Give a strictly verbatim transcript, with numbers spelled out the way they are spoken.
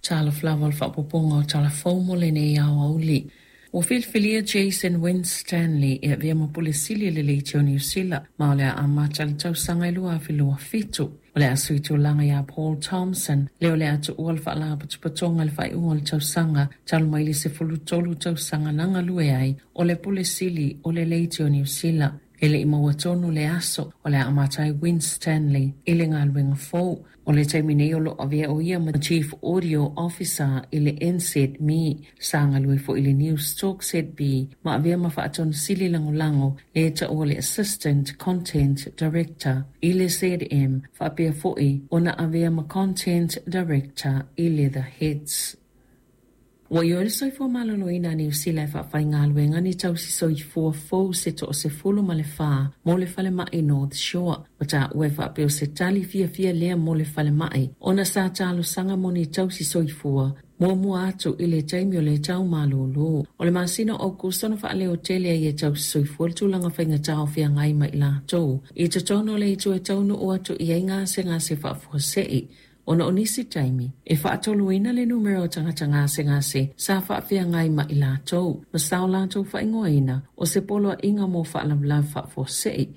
Talofa lava o le faaopoopoga o Tala Fou mo lenei aoauli. Ua filifilia Jason Winstanley e avea ma Pule Sili o le Leitio Niu Sila, ma o le a amata i le tausaga e lua afe lua fitu. O le a sui tulaga ia Paul Thompson, lea o le a tuua le faalapotopotoga i le faaiuga o le tausaga, talu mai le sefulu tolu tausaga na galue ai o le Pule Sili o le Leitio Niu Sila. E le i maua tonu le aso o le a amata ai Winstanley i le galuega fou. O le taimi nei o lo o avea o ia ma Chief Audio Officer i le N Z M E, sa galue foi i le News Talk Z B ma avea ma faatonu sili lagolago le taua le Assistant Content Director i le Z M, faapea foi ona avea ma Content Director i le The Hits. Ua ioe le soifua maloloina a Niu Sila e faafaigaluega ni tausi soifua fou se toasefulu ma le fa mo le falemai North Shore. Ua taua e faapea o se tali fiafia lea mo le falemai ona sa talosaga mo ni tausi soifua muamua atu i le taimi o le tau malolo. O le masina o Aukuso na faaleo tele ai e tausi soifua le tulaga faigata o feagai ma i latou. I totonu o le itu e taunuu atu i ai gasegase faafuasei, ona o nisi taimi e faatoluina le numera o tagata gasegase sa faafeagai ma i latou, ma sa o latou faaigoaina o se poloaiga mo faalavelave faafuasei.